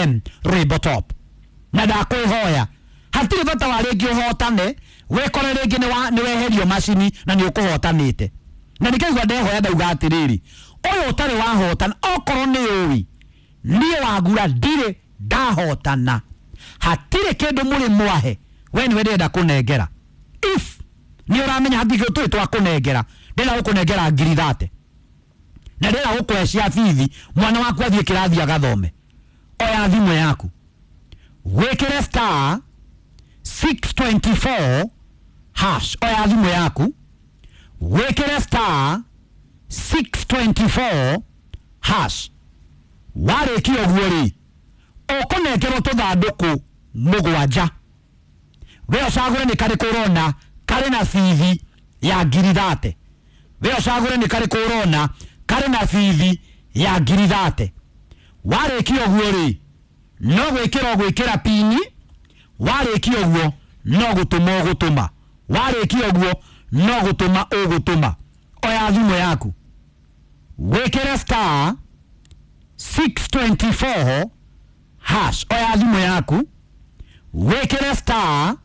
FM rwĩmbo top. Na ndakwĩhoya hatirĩ bata wa rĩngĩ ũhotane wĩkore rĩngĩ nĩ weherio macini na nĩ ũkũhotanĩte. Na nĩkĩigua ndehoya ndauga atĩrĩrĩ, ũyũ ũtarĩ wahotana okorwo nĩ ũĩ niĩ Wagura ndirĩ ndahotana, hatirĩ kĩndũ mũrĩ mwahe, we nĩwe ndĩrenda kũnengera. If nĩ ũramenya hatirĩ kĩndũ tũrĩ twakũnengera, ndĩrenda gũkũnengera ngiri 30 na ndĩrenda gũkũhe cia bithi mwana waku athiĩ kĩrathi agathome. Oya thimũ yaku wĩkĩre star 624 hash. Oya thimũ yaku wĩkĩre star 624 hash. Warĩkia ũguo rĩ, ũkũnengerwo tũthandũkũ mũgwanja, we ũcagũre nĩ karĩkũ ũrona karĩ na bithi ya ngiri 30. We ũcagũre nĩ karĩkũ ũrona karĩ na bithi ya ngiri 30. Warĩkia ũguo rĩ, no gwĩkĩra ũgwĩkĩra pini. Warĩkia ũguo no gũtũma ũgũtũma. Warĩkia ũguo no gũtũma ũgũtũma. Oya thimũ yaku wĩkĩre star 624 hash. Oya thimũ yaku wĩkĩre star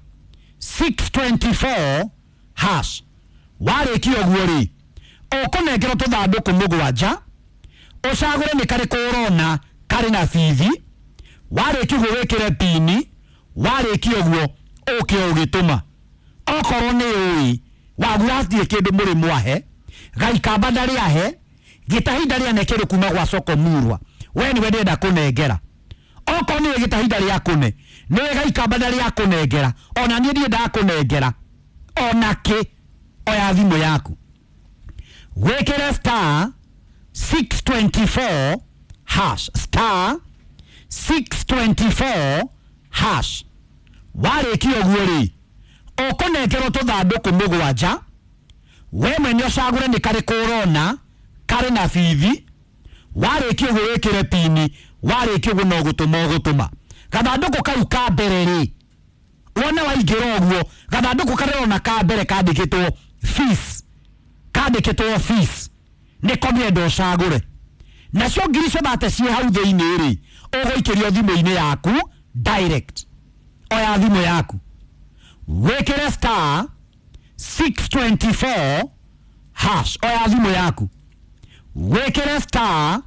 624 hash. Warĩkia ũguo rĩ, ũkũnengerwo tũthandũkũ mũgwanja, ũcagũre nĩ karĩkũ ũrona karĩ na bithi. Warĩkia ũguo wĩkĩre pini. Warĩkia ũguo ũke ũgĩtũma. Okorwo nĩ ũĩ Wagura hatirĩ kĩndũ mũrĩ mwahe, Gaikamba ndarĩ ahe, Gĩtahi ndarĩ ane kĩndũ kuma gwa soko murwa, we nĩwe ndĩrenda kũnengera. Okorwo nĩwe Gĩtahi ndarĩ akũne, nĩwe Gaikamba ndarĩ akũnengera, ona niĩ ndirĩ ndakũnengera ona kĩ. Oya thimũ yaku wĩkĩre star 624 hash, star 624 hash. Warĩkia ũguo rĩ, ũkũnengerwo tũthandũkũ mũgwanja, we mwene ũcagũre nĩ karĩkũ ũrona karĩ na bithi. Warĩkia ũguo wĩkĩre pini. Warĩkia ũguo no gũtũma ũgũtũma. Gathandũkũ kau ka mbere rĩ, wona waingĩra ũguo gathandũkũ karĩa ũrona ka mbere kandĩkĩtwo fees, kandĩkĩtwo fees, nĩko ndĩrenda ũcagũre. Nacio ngiri ciothe ciĩ hau thĩinĩ rĩ, ũgũikĩrio thimũ-inĩ yaku direct. Oya thimũ yaku wĩkĩre star 624 hash. Oya thimũ yaku wĩkĩre star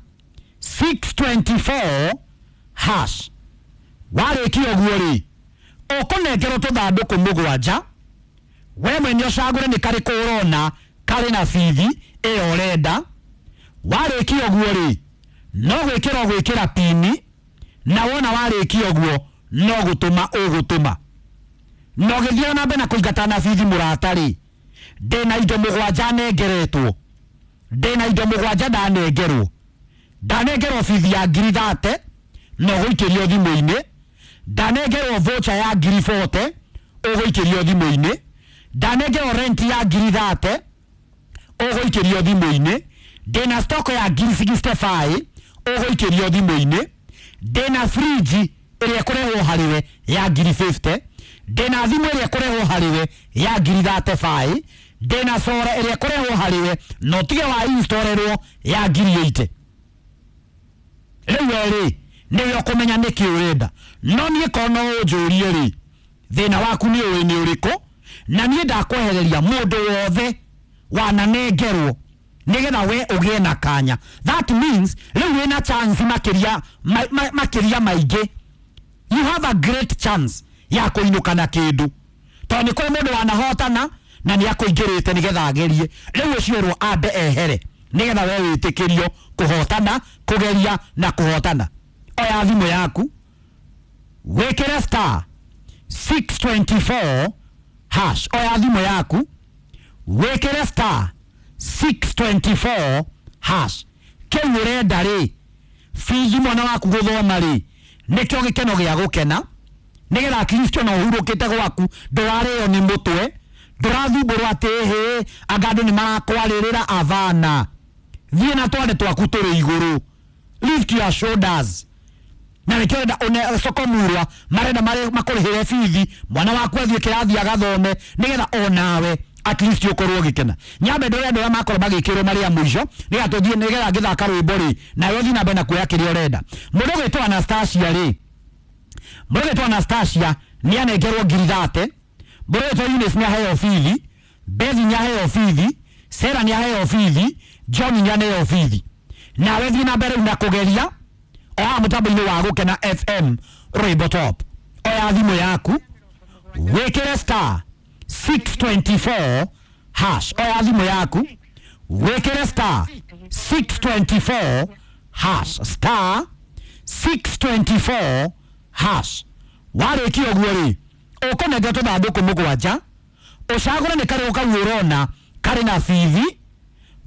624 hash. Warĩkia ũguo rĩ, ũkũnengerwo tũthandũkũ mũgwanja, we mwene ũcagũre nĩ karĩkũ ũrona karĩ na bithi ĩyo ũrenda. Warĩkia ũguo rĩ, no gwĩkĩra ũgwĩkĩra pini, na wona warĩkia ũguo no gũtũma ũgũtũma. Na ũgĩthiĩ na mbere na kũingata na bithi mũrata rĩ, ndĩna indo mũgwanja nengeretwo, ndĩna indo mũgwanja ndanengerwo, ndanengerwo bithi ya ngiri 30 na ũgũikĩrio thimũ-inĩ, ndanengerwo voucher ya ngiri 40 ũgũikĩrio thimũ-inĩ, ndanengerwo rent ya ngiri 30 ũgũikĩrio thimũ-inĩ, ndĩna stock ya ngiri 65 ũgũikĩrio thimũ-inĩ, ndĩna fridge ĩrĩa ĩkũrehwo harĩwe ya ngiri 50, ndĩna thimũ ĩrĩa ĩkũrehwo harĩwe ya ngiri 35, ndĩna solar ĩrĩa ĩkũrehwo harĩwe na ũtige wa installĩrwo ya ngiri 80. Rĩu we rĩ, nĩwe ũkũmenya nĩkĩ ũrenda. No niĩ korwo no ũnjũrie rĩ, thĩna waku nĩ ũĩ nĩ ũrĩkũ, na niĩ ndakwehereria mũndũ wothe wananengerwo nĩgetha we ũgĩe na kanya. That means rĩu wĩna chance makĩria makĩria maingĩ. You have a great chance ya kũinũka na kĩndũ, tondũ nĩ kũrĩ mũndũ wanahotana na nĩ akũingĩrĩte nĩgetha agerie. Rĩu ũcio erwo ambe ehere nĩgetha we wĩtĩkĩrio kũhotana, kũgeria na kũhotana. Oya thimũ yaku wĩkĩre star 624 hash. Oya thimũ yaku wĩkĩre star 624 hash. Kĩu ũrenda rĩ, bithi mwana waku gũthoma rĩ, nĩkĩo gĩkeno gĩa gũkena, nĩgetha at least ona ũhurũkĩte gwaku ndũrarĩo nĩ mũtwe, ndũrathumbũrwo atĩ hĩ anga andũ nĩ marakwarĩrĩra. Avana, thiĩ na twane twaku tũrĩ igũrũ, lift your shoulders. Na nĩkĩo ũrenda une soko murwa marenda makũrĩhĩre bithi mwana waku athiĩ kĩrathi agathome, nĩgetha onawe At least ũkorwo ũgĩkena. Nyambe ndore andũ arĩa makorwo magĩkĩrwo marĩ a mũico, nĩgetha tũthiĩ, nĩgetha ngĩthaka rwĩmbo rĩ, nawe ũthiĩ na mbere na kuoya kĩrĩa ũrenda. Mũndũ ũgwĩtwo Anastasia rĩ, mũndũ ũgwĩtwo Anastasia nĩ anengerwo 30,000. Mũndũ ũgwĩtwo Eunice nĩ aheo bithi, Bethi nĩ aheo bithi, Sarah nĩ aheo bithi, John nĩ aneo bithi. Nawe thiĩ na mbere rĩu na kũgeria o haha mũtambo-inĩ wa Gũkena FM rwĩmbo top. Oya thimũ yaku, wĩkĩre star 624 hash. Oya thimũ yaku, wĩkĩre star 624 hash, star 624 hash. Warĩkia ũguo rĩ, ũkũnengera tũthandũkũ mũgwanja, ũcagũre nĩ karĩkũ kau ũrona karĩ na bithi.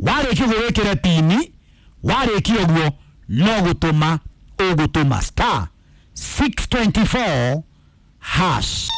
Warĩkia ũguo wĩkĩre pini. Warĩkia ũguo no gũtũma ũgũtũma star 624 hash.